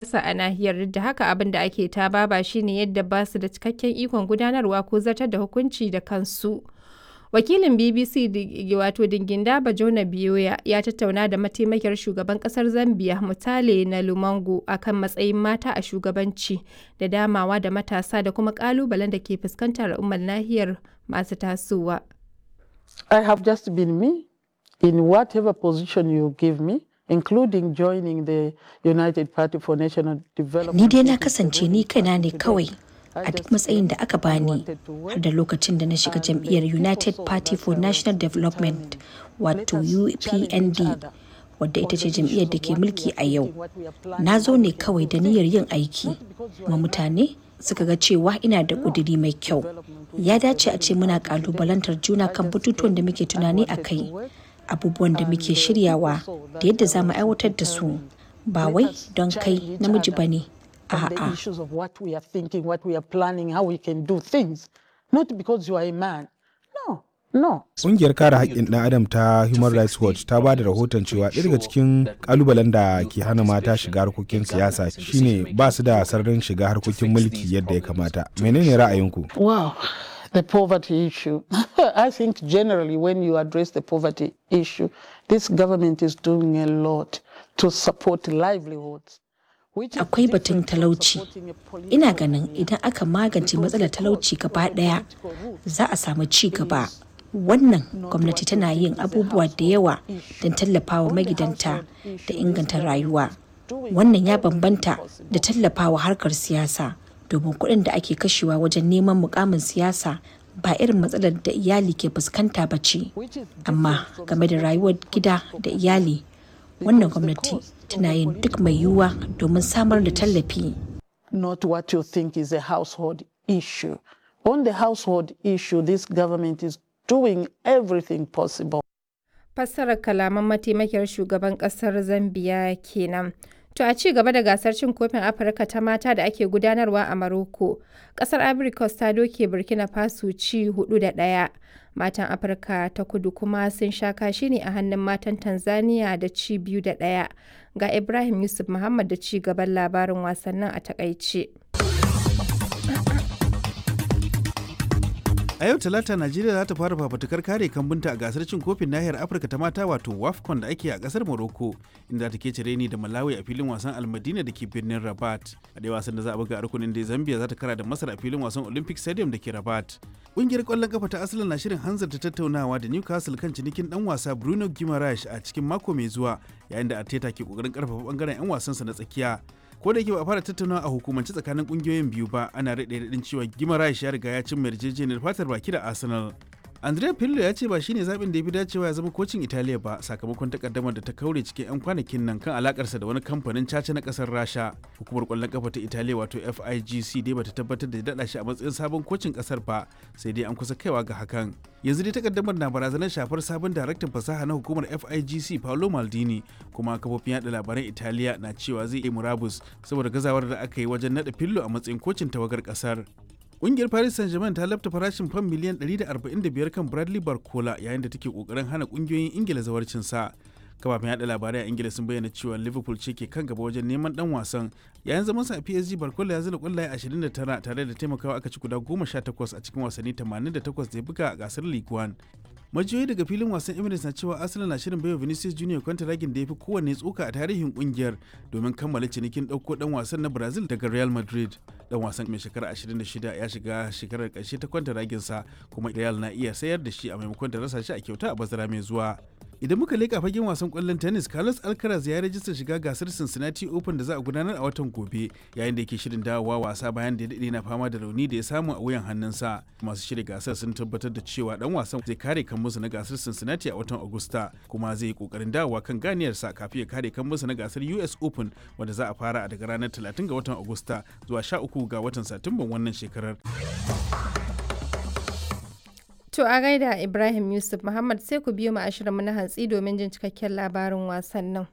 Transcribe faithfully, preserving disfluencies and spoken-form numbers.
A nahiyar, duk da haka, abin da ake tababa shi ne yadda ba su da cikakken ikon gudanarwa ko zartar da hukunci da kansu. Wakilin B B C wato Dingindaba Jona Bioya ya tattauna da mataimakiyar shugaban kasar Zambiya Mutale Nalumango a kan matsayin mata a shugabanci da damawa da matasa da kuma kalubalen da ke fuskantar al'ummar nahiyar masu tasowa. I have just been me in whatever position you give me, including joining the United Party for National Development. Ni dai na kasance ni kaina ne kawai a duk matsayin da aka bani, har da lokacin da na shiga jam'iyyar United Party for National Development, wato U P N D, wadda ita ce jam'iyyar da ke mulki a yau. Na zo ne kawai da niyyar yin aiki, kuma mutane suka ga cewa ina da ƙudiri mai kyau. Ya dace a ce muna ƙalubalantar juna kan batutuwan da muke tunani a kai, abubuwan da muke shiryawa da yadda za mu aiwatar da su, ba wai don kai namiji ba ne. On the A'a. issues of what we are thinking, what we are planning, how we can do things. Not because you are a man. No, no. Ƙungiyar kare haƙƙin ɗan adam ta Human Rights Watch ta ba da rahoton cewa ɗaya daga cikin ƙalubalen da ke hana mata shiga harkokin siyasa shine ba su da sararin shiga harkokin mulki yadda ya kamata. Menene ra'ayinku? Wow, the poverty issue. I think generally when you address the poverty issue, this government is doing a lot to support livelihoods, which is Akwai batun different from talauci. supporting a political Ina ganin career. idan aka magance Because matsalar the talauci cost of gaba the ɗaya, political route za a samu ci gaba. is Wannan not gwamnati what you tana think yin is a abubuwa da household yawa issue. don tallafawa On the magidanta household da issue, this inganta government rayuwa. is doing Wannan ya everything bambanta da possible. tallafawa harkar siyasa, domin kuɗin da ake kashewa wajen neman mukamin siyasa ba irin matsalar da iyali ke fuskanta ba ce. Which is Amma different from game da supporting rayuwar gida political da career. iyali, wannan Because the gwamnati cost of tana the yin duk political mai route yiwuwa domin samar da is tallafi. not what you think is a household issue. On the household issue, this government is doing everything possible. Fassarar kalaman mataimakiyar shugaban kasar Zambiya kenan. To, a ci gaba da gasar cin kofin Afirka ta mata da ake gudanarwa a Maroko, kasar Ivory Coast ta doke Burkina Faso ci hudu da ɗaya. Matan Afirka ta Kudu kuma sun sha kashi ne a hannun matan Tanzania da ci biyu da ɗaya. Ga Ibrahim Yusuf Muhammad da ci gaban labarin wasannin a takaice. A yau Talata Najeriya za ta fara fafutukar kare kambunta a gasar cin kofin nahiyar Afirka ta mata, wato WAFCON, da ake a kasar Morocco, inda ta kece reni da Malawi a filin wasan Almadina da ke birnin Rabat. A ɗaya wasan da za a buga a rukunin da, Zambia za ta kara da Masar a filin wasan Olympic Stadium da ke Rabat. Ƙungiyar ƙwallon kafa ta Arsenal na shirin hanzarta tattaunawa da Newcastle kan cinikin ɗan wasa Bruno Guimaraes a cikin mako mai zuwa, yayin da Arteta ke ƙoƙarin ƙarfafa ɓangaren 'yan wasansa na tsakiya. Ko da yake ba a fara tattaunawa a hukumance tsakanin kungiyoyin biyu ba, ana rade radin cewa Guimaraes ya riga ya cimma yarjejeniyar fatar baki da Arsenal. Andrea Pirlo ya ce ba shine zaɓin da ya fi dacewa ya zama kocin Italiya ba, sakamakon takaddamar da ta kaure cikin 'yan kwanakin nan kan alakarsa da wani kamfanin caca na ƙasar Rasha. Hukumar ƙwallon kafa ta Italiya, wato F I G C, dai bata tabbatar da daɗa shi a matsayin sabon kocin ƙasar ba, sai dai an kusa kaiwa ga hakan. Yanzu dai takaddamar na barazanar shafar sabon daraktan fasaha na hukumar F I G C, Paolo Maldini, kuma kafofin yaɗa labaran Italiya na cewa zai yi murabus saboda gazawar da aka yi wajen naɗa Pirlo a matsayin kocin tawagar ƙasar. Ƙungiyar Paris Saint-Germain ta lafta farashin fam miliyan ɗari da arba'in da biyar kan Bradley Barcola, yayin da take kokarin hana ƙungiyoyin Ingila zawarcin sa. Kafafen yada labarai a Ingila sun bayyana cewa Liverpool ce ke kan gaba wajen neman dan wasan. Yayin zamansa a P S G, Barcola ya zira kwallaye ashirin da tara tare da taimakawa aka ci guda goma sha takwas a cikin wasanni tamanin da takwas da ya buga a gasar Ligue one. Majiyoyi daga filin wasan Emirates na cewa Arsenal na shirin baiwa Vinicius Junior kwantaragin da ya fi kowanne tsoka a tarihin kungiyar domin kammala cinikin ɗauko ɗan wasan na Brazil daga Real Madrid. Ɗan wasan mai shekara ashirin da shida ya shiga shekarar ƙarshe ta kwantaraginsa, kuma Real na iya sayar da shi a maimakon ta rasa shi a kyauta a bazara mai zuwa. Idan muka leƙa fagen wasan ƙwallon tennis, Carlos Alcaraz ya rajista shiga gasar Cincinnati Open da za a gudanar a watan gobe, yayin da yake shirin dawowa wasa bayan da ya daɗe na fama da rauni da ya samu a wuyan hannunsa. Masu shirya gasar sun tabbatar da cewa dan wasan zai kare kan musu na gasar Cincinnati a watan Agusta, kuma zai yi kokarin dawowa kan ganiyarsa kafin ya kare kan musu na gasar U S Open, wanda za a fara daga ranar talatin ga watan Agusta zuwa sha uku ga watan Satumban wannan shekarar. To, a gaida Ibrahim Yusuf Muhammad. Sai ku biyo mu a shirinmu na hantsi domin jin cikakken labarin wasannin.